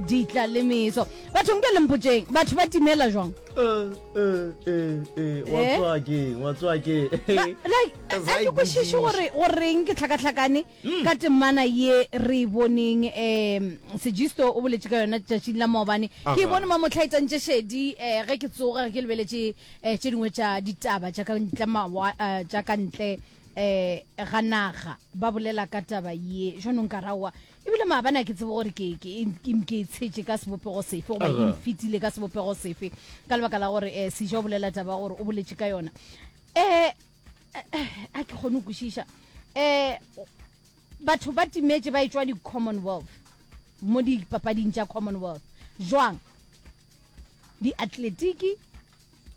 Ditla le meso. Batho nke le mpotšeng, batho ba timela jwang? Eh, eh, eh, eh, wa Eh? tsoa keng, wa tsoa keng. Ba- like As a I ke kwešiše gore goreng ke tlhakatlhakane ka temana ye re e boneng um sejisto o boletše ka yona tšatšing la maobane ke e Aha. bone mamotlha e tsantše šedi um ge ke tsoga ge ke lebeletše um tše dingwe tša ditaba tša ka ntle mawa eh, tša ka ntle um ga naga ba bolela ka taba ye jwanong ka raowa Ebile maabane a ke tsebe gore ke, ke, ke, ke e tshetše ka sebopego sefe goba e mfetile ka sebopego sefe ka lebaka la gore um Seja o bolela taba gore o boletše ka yona. Um a ke kgone go kwešiša. Um batho ba timetše ba etšwa di-Commonwealth, mo dipapading tša Commonwealth. Jwang? Diatletiki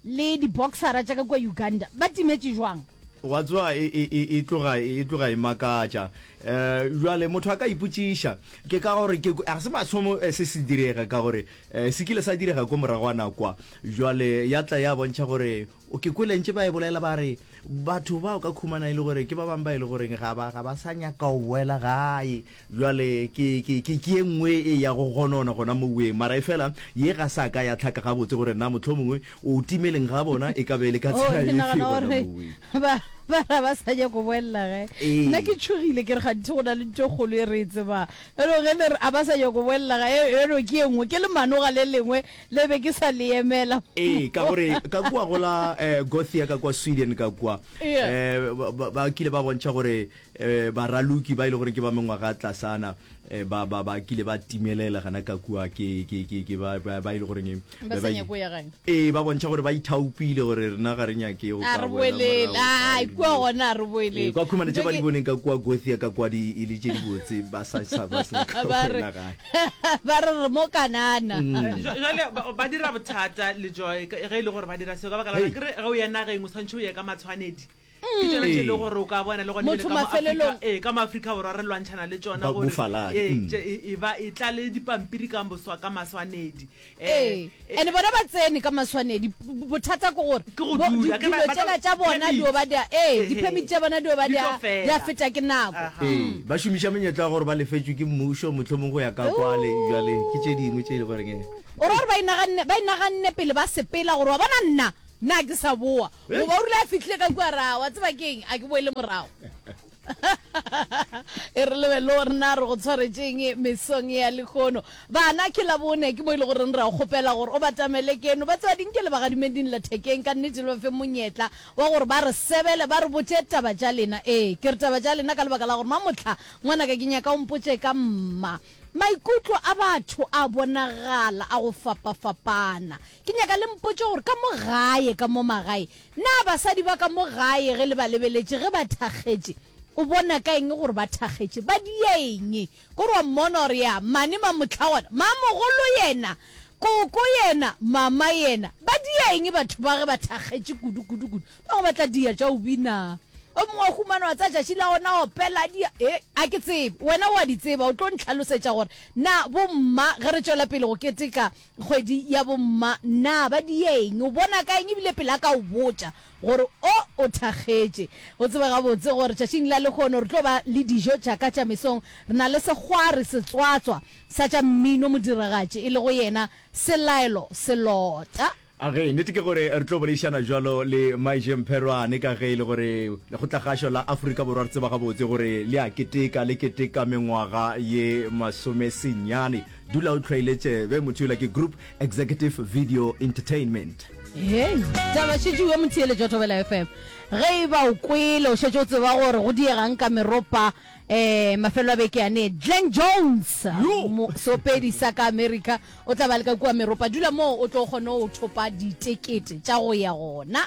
le di-boxera tša ka kua Uganda ba timetše jwang? Wa tseba, e, e, e, e tloga, e tloga e makatša. Um bjale motho a ka ipotšiša, ke ka gore ke, ga se mathomo se se direga, ka gore um se kile sa direga ko moragwana kwa. Bjale ya tla ya bontšha gore, ke kwele ntše ba e bolela ba re, batho bao ka khumana e le gore ke ba bangwe ba e le goreng ga ba, ga ba sa nyaka go boela gae. Bjale ke, ke, ke, ke ye nngwe e ya go gonona gona moweng. Mara efela ye ga sa ka ya hlaka gabotse gore na mohlomongwe o timeleng ga bona e ka be e le ka Oh, tsela ke efe nagana gona gore moweng. ba, ba ra ba sa nyako boelela gae. Ee. Nna ke tšhogile ke re gantši go na le ntho e kgolo e re e tsebang. Bjalo ge le re a ba sa nyako boelela gae, bjalo ke ye nngwe, ke lemanoga le lengwe le be ke sa le emela. Ee, ka gore ka kua go la eh, Gothia ka kua Sweden ka kua, Yeah. eh, ba, ba, ba kile ba bontšha gore Baraloki ba e le gore ke ba mengwaga tlasana ba ba ba kile ba timelela gana ka kua ke ke ke ke ba ba e le goreng Ba sa nyake go ya gae. Ee, ba bontšha gore ba ithaopile gore rena ga re nyake go A ka re boela boelele. morago Ai, gae. kua gona a re boelele. Ee, kwa khumana tše Ntho ba di ke boneng ka kua Gothia ka kua di e le tše dibotse ba sa sa ba sa nyaka go ba re boela gae. ba re re mo Kanana. Jwale ba dira bothata le Joy ge e le gore ba dira seo ka baka la gore Hei. akere ge o ya nageng o swanetše o ye ka matshwanedi. Ke tšona tše e lego gore o ka bona le gona Motho ebile ka mo Afrika, mafelelong. ee, ka mo Afrika Borwa re lwantšhana le tšona Ba gore bofaladi, ee, mm. tše, e, e ba e tla le dipampiri ka moswa ka maswanedi. Ee, Eh, and bona ba tsene ka maswanedi. B- Bothata ke gore Ke go bo- dula, di- ke ba- dilo ba tšela tlo- tša bona permit. di o ba di a, ee, Ehe. di-permit tša bona di o ba Di di tlo a, fela. di a feta ke nako. Aha. Ee, ba šomiša menyetla ya gore ba lefetšwe ke mmušo, mohlomong go ya ka kwale. Bjale ke tše dingwe tše e le goreng e. O ra gore ba inaganne, ba inaganne pele ba sepela gore wa bona nna, nna ke sa boa. Goba o rile a fihlile ka kua ra, wa tseba ke eng, a ke boele morago. E re lebelele gore na re go tshwaretšeng mesong ya lehono. Bana, ke Labone, ke mo e le goreng re a kgopela gore o batamele keno. Ba tseba dinke le bagadimeng dinlathekeng, ka nnete le ba fe monyetla wa gore ba re sebele, ba re botše taba tša lena. Ee, ke re taba tša lena ka lebaka la gore mamohla ngwanaka ke nyaka o mpotše ka mma. Maikutlo a batho a bonagala a go fapafapana. Ke nyaka le mpotše gore ka mo gae, ka mo magae, na basadi ba ka mo gae ge le ba lebeletše ge ba thakgetše, o bona ka eng gore ba thakgetše? Ba dia eng? Kore wa mmona gore ya mane mamohlagwana, mamogolo yena, koko yena, mama yena, ba dia eng batho ba ge ba thakgetše kudu, kudu, kudu? Ba bangwe ba tla dia tša go bina. O mongwe wa humana wa tsaya tšatši la gona opela dia. E, a ke tsebe. Wena o a di tseba, o tlo ntlhalosetša gore na bomma ge re tšwela pele go keteka kgwedi ya bomma na ba dia eng? O bona ka eng ebile pele a ka o botša gore o o thakgetše. O tsebe gabotse gore tšatšing la lehono re tlo ba le dijo tša ka tša mesong. Re na le sekgwari setswatswa sa tša mmino modiragatši e lego yena Selaelo Selota. A ge, nnete ke gore re tlo boledišana bjalo le Maije Mpherwane ka ge e le gore Lekgotlakgašo la Afrika Borwa re tseba gabotse gore le a keteka, le keteka mengwaga ye masomesenyane. Dula o hlwaile tšebe, motho yola ke Group Executive Video Entertainment. Hei, taba šetše yo motheeletši wa Thobela FM. Ge e ba o kwele, o šetše o tseba gore go diegang ka meropa um mafelo a beke ane. Glen Jones, seopedi sa ka Amerika, O tla ba le ka kua meropa. Dula moo o tlo kgone go thopa ditekete tša go ya gona.